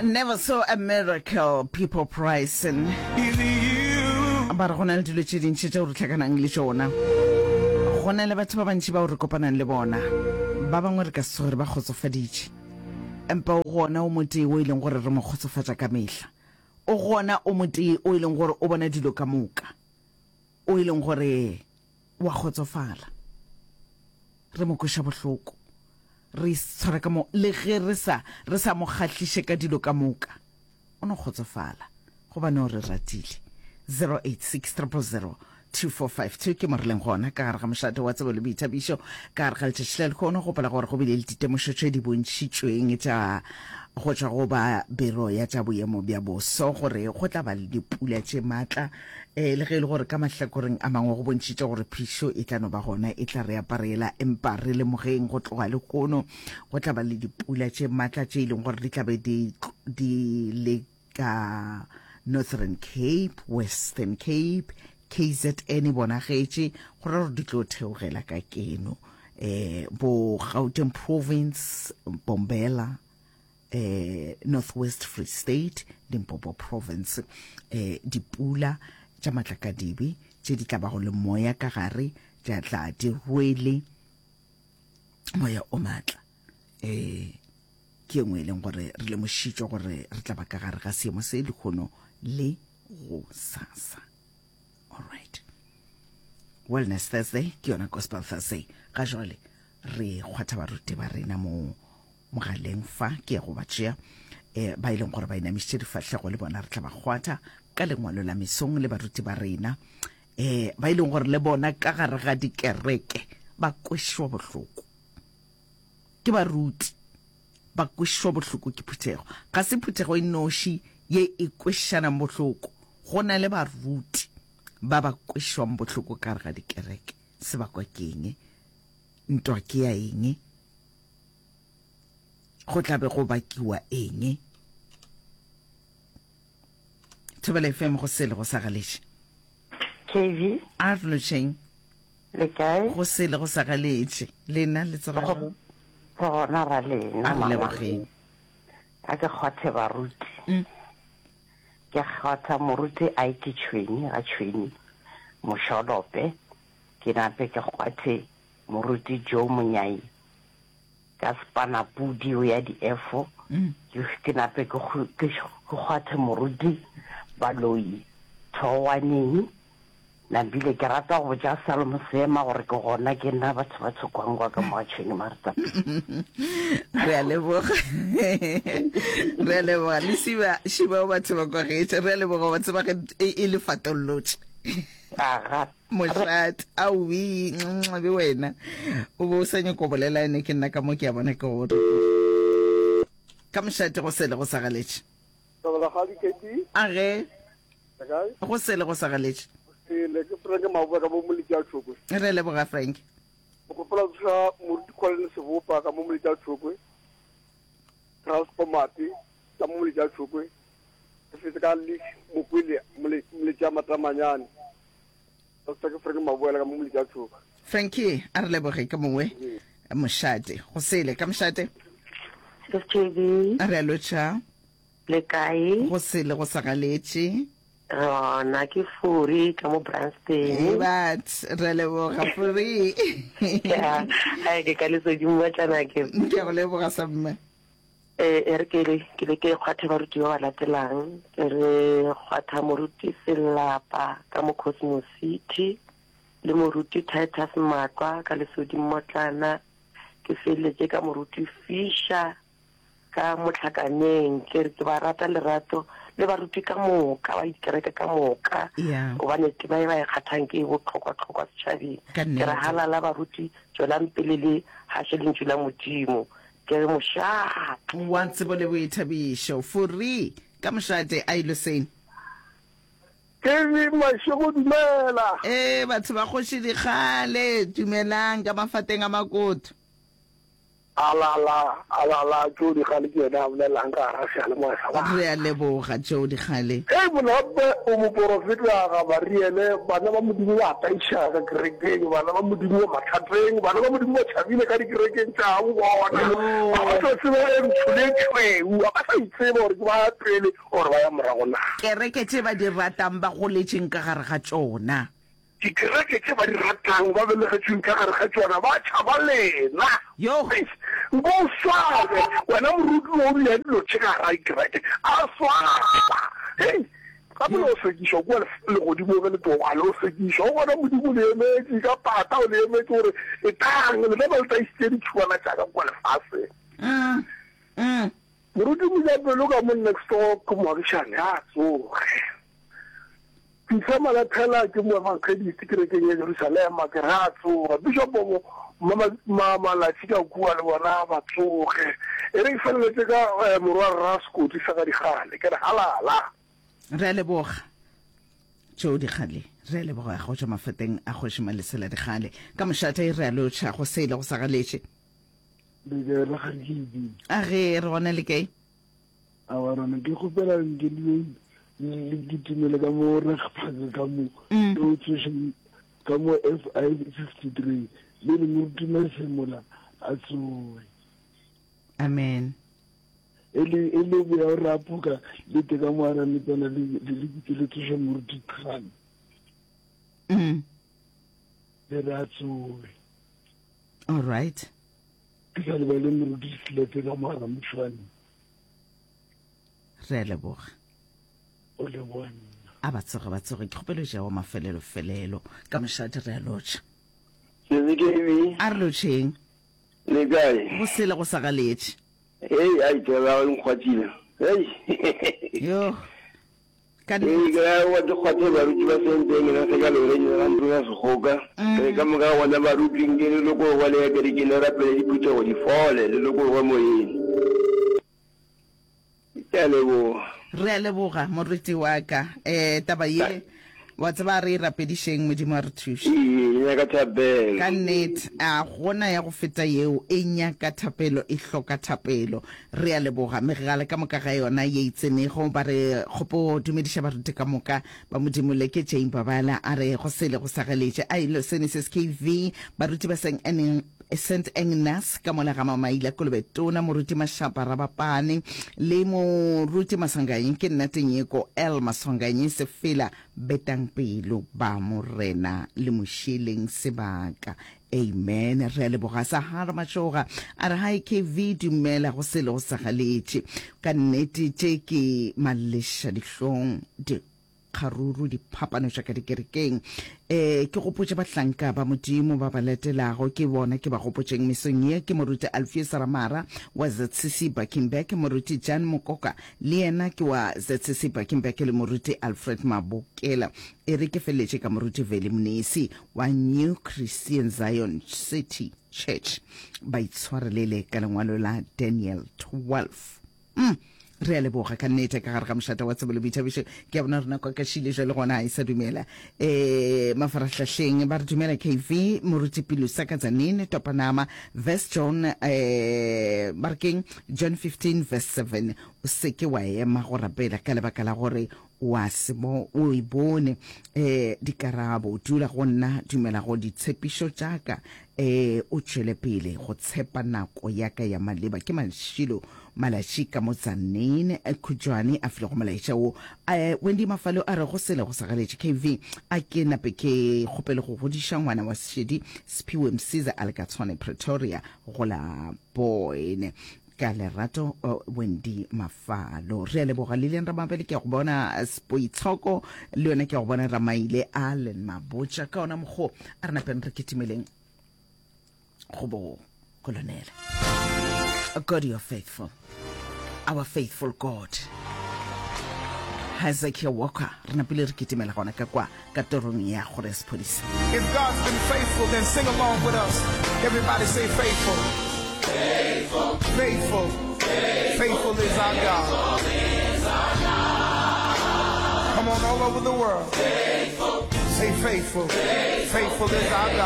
Never saw a miracle, people pricing. Ba re go na le dilo tše dintši tšeo re tlhakanang le tšona. Go na le batho ba bantši bao re kopanang le bona. Ba bangwe re ka se tsoge re ba kgotsofaditše. Empa o gona o motee o e leng gore re mo kgotsofatša ka mehla. O gona o motee o e leng gore o bona dilo ka moka. O e leng gore wa kgotsofala. Re mo kweša bohloko. Re itshwara ka mo, le ge re sa, re sa mo kgahliše ka dilo ka moka. O no kgotsofala, gobane o re ratile. 086 000 2452 ke mo re leng gona ka gare ga mošate wa tsebo le boithabišo ka gare ga letšatši la lehono. Gopola gore go bile le ditemošo tše di bontšhitšweng tša go tšwa go ba biro ya tša boemo bja boso gore go tla ba le dipula tše matla E, le ge e le gore ka mahlakoreng a mangwe go bontšhitše gore phišo e tla no ba gona, e tla re aparela, empa re lemogeng go tloga lehono go tla ba le dipula tše matla tše e leng gore di tla be di, di le ka Northern Cape, Western Cape, KZN e bonagetše, go ra gore di tlo theogela ka keno. E, bo Gauteng Province, Bombela, eh North West Free State, Limpopo Province, eh dipula tša matlakadibe tše di tla bago le moya ka gare tša tla di rwele moya o matla eh ke engwe e leng gore re lemošitšwe gore re tla ba ka gare ga seemo se lehono le go sasa. All right. Wellness Thursday ke yona Gospel Thursday. Ga jwale re kgwatha baruti ba rena mo mogaleng fa ke ya go ba tšea eh, ba e leng gore ba inamišitše difahlego le bona re tla ba kgwatha ka lengwalo la mesong le baruti ba rena eh, ba e leng gore le bona ka gare ga dikereke ba kwešwa bohloko ke baruti ba kwešwa bohloko ke phuthego ga se phuthego e noši ye e kwešanang bohloko go na le baruti ba ba kwešwang bohloko ka gare ga dikereke sebakwa ke eng ntwa ke ya eng Go tla be go bakiwa eng? Thobela FM go sele go sa galetše. KV. A re lotšheng. Le kae? Go sele go sa galetše. Lena le tsoga jwang? Re gona ra lena. A re lebogeng. A ke kgwathe baruti. Mm. Ke kgwatha moruti a ke tšhweni ga tšhweni mošolope ke nape ke kgwathe moruti Joe Monyai Ka sepanapudi o ya diefo, ke, ke nape ke, ke, ke kgwathe moruti baloi thoowaneng. Nambile ke rata go botša Salomo Seema gore ke gona ke nna batho ba tshokwangwa ka mo ga tšhwene Martha. Re a leboga. Re a leboga. Le siba, šiba o batho ba kwagetše. Re a leboga wa tseba ge e, e le fatollotše. Aga. Mošate, aowi, be wena o be o sa nyako bolela ene ke nna ka mo ke a bona ke gore ka mošate go sele go sa galetše. A ge go sele go sa galetše. Sele ke Frank Maboe ka mo Moletši a Tšhokwe. Re leboga Frank. Ke kgopela tsoša Moruti Colin Sebopa ka mo Moletši a Tšhokwe. Charles Komati ka mo Moletši a Tšhokwe. Ke fetse ka Leak Mokwele Moletši a Matamanyane. Doctor ke Frank Maboela ka mo Moletši a Tšhokwe. Frankie, a re leboge ka mongwe mošate. Go sele ka mošate. SJB. A re a lotšha. Le kae? Go sele go sa galetše. Re gona ke Furi ka mo Branston. Hey bat, re leboga Furi. Ya, ai ke ka lesedi mmatlana ke. Ke a go leboga sa mme. E, e re ke le ke le ke kgwathe baruti ba ba latelang. Ke re kgwatha moruti Selapa ka mo Cosmo City le moruti Titus Matlwa ka Lesodi Mmotlana. Ke feleletše ka moruti Fisher ka Mohlakaneng. Ke re ke ba rata lerato le baruti ka moka ba dikereke ka moka Yeah. gobane tema e ba e kgathang ke e bohlokwa-hlokwa setšhabeng. Ka Ke re nnete. halala baruti, tšwelang pele le gaše lentšu la Modimo. Ke re mošate. Wa tsebo le boithabišo. Fourie, ka mošate, a Iloseng. Ke re mašego dumela. Ee, batho ba Kgoši Dikgale, dumelang ka mafateng a Makoto. Alala, alala, Joe Dikgale ke yena a bolelang ka gara seyalemoya sa batho. Re a leboga, Joe Dikgale. Hei Monape, o moporofeta Gabariele, bana ba Modimo ba tlaišega ka kerekeng, bana ba Modimo ba mathateng, bana ba Modimo ba tšhabile ka dikerekeng tša gabo bona, ga ba sa tseba e ntsho le e tšhweu, ga ba sa itseba gore ke ba ya pele or ba ya morago na. Kereke tše ba di ratang ba goletšeng ka gare ga tšona. Dikereke tše ba di ratang, ba belegetšweng ka gare ga tšona, ba tšhaba lena. Yoh! Eish! Nko o swabe, wena moruti wo o bea dilo tše ka gare ga dikereke. A swaba! Hei! Gape le yo sekišwa kua legodimong ge le tloga, le yo sekišwa. O gona Modimo o le emetše ka pata, o le emetše gore, Etlang, lena ba le taišitše ditšhuana tša ka kua lefaseng. Mm. Mm. Moruti Mojapelo ka mo next door ke moagišane, a tsoge. Fihla Malathela ke moefangedist kerekeng ya Jerusalema, ke re a tsoga. Bishopo ma, ma, Malatši ka kua le bona ba tsoge. E re ke feleletše ka eh, morwa rra Sekoti sa ga Dikgale, ke re halala. Re a leboga Joe Dikgale, re a leboga go tšwa mafeteng a Kgoši Malesela Dikgale. Ka mošate re a lotšha go sele go sa galetše. Le kae rakgadi KB? A ge re gona le kae? Awa rona ke kgopela nke le le kitimele ka mo Regpark ka mo mm. le o tsoše ka mo FI 53 le le moruti Masemola a tsoe. Amen. E le e le boya o rapoka le te ka mo arametsana le le le le tsoše moruti Khan. Mm. Le re a tsoe. All right. Ke sa lebale moruti Selepe ka mo Ramošwane. Re a leboga. O leboga nna. A ba tsoge ba tsoge ke kgopelo ja wa mafelelo felelo ka mošate re a lotšha. Sesi KB. A re lotšheng. Le kae? Go sele go sa galetše. Hei, ai taba ya gago e nkgwathile. Hei. Yo. Ka Ee, nnete. ke ra wa ke kgwathe baruti ba senteng na se ka lore ga ntlo ya sekgoka. Re ka moka gona baruti nke le lokologe le ya kerekeng le rapele diphuthego di fole le lokologe moyeng. Ke a leboga. Re a leboga moruti wa ka. Eh taba ye wa tseba re e rapedišeng Modimo a re thuše. Ee, e nyaka thapelo. Ka nnete a gona ya go feta yeo e nyaka thapelo e hloka thapelo. Re a leboga megala ka moka ga yona ye e tsenego. Ba re kgopo dumediša baruti ka moka ba Modimo le ke Jane Babala a re go sele go sa galetše a ilo sene se SKV baruti ba Saint Saint Agnes ka mola ga Mamaila Kolobe Tona moruti Mashapa Rabapane le moruti Maswanganyi ke nna Tenyeko L Maswanganyi Sefela betang pelo ba Morena le mošeleng sebaka Amen re a leboga Sahara Matšoga a re hi KV dumela go sele go sa galetše ka nnete tše ke maleša dihlong dikgaruru diphapano tša ka dikerekeng eh ke gopotše bahlanka ba Modimo ba ba latelago ke bona ke ba gopotšeng mesong ye ke moruti Alpheus Ramara wa ZCC Buckingback moruti Jan Mokoka le yena ke wa ZCC Buckingback le moruti Alfred Mabokela e re ke feleletše ka moruti Veli Mnisi wa New Christian Zion City Church ba itshwarelele ka lengwalo la Daniel 12. Mm. Re a leboga ka nnete ka gare ga mošate wa tsebo le boithabišo. Ke a bona rena kwa kashile jwale gona a e sa dumela. Eh mafarahlahleng ba re dumela KV Moruti Pilusa ka Tzaneen Topanama verse John eh ba re keng John 15 verse 7 o seke wa ema go rapela ka lebaka la gore Wa se bo, o e bone. E, dikarabo. Dula go nna, dumela go ditshepišo tša ka. E, o tšwele pele go tshepa nako ya ka ya maleba. Ke Mashilo Malatši ka mo Tzaneen, Khutšwane a filego molaetša wo. E, Wendy Mafalo a re go sele go sa galetše. KV, a ke nape ke kgopele go godiša ngwana wa Seshedi, Siphiwe Msiza a le ka Tshwane, Pretoria, go la Boyne. Ka lerato Wendy Mafalo. Re a leboga Lilian Ramabele, ke a go bona Spoitshoko, le yona ke a go bona Ramaile Allen Mabotja. Ka ona mokgo a re napeng re kitimeleng go bo kolonele. God, you are faithful. Our faithful God. Hezekiah Walker, re napile re kitimela gona ka kwa ka torong ya gore ya sephodisa. If God's been faithful, then sing along with us. Everybody say faithful. Faithful. Faithful. Faithful is our God. Come on, all over the world. Faithful. Say faithful. Faithful is our God.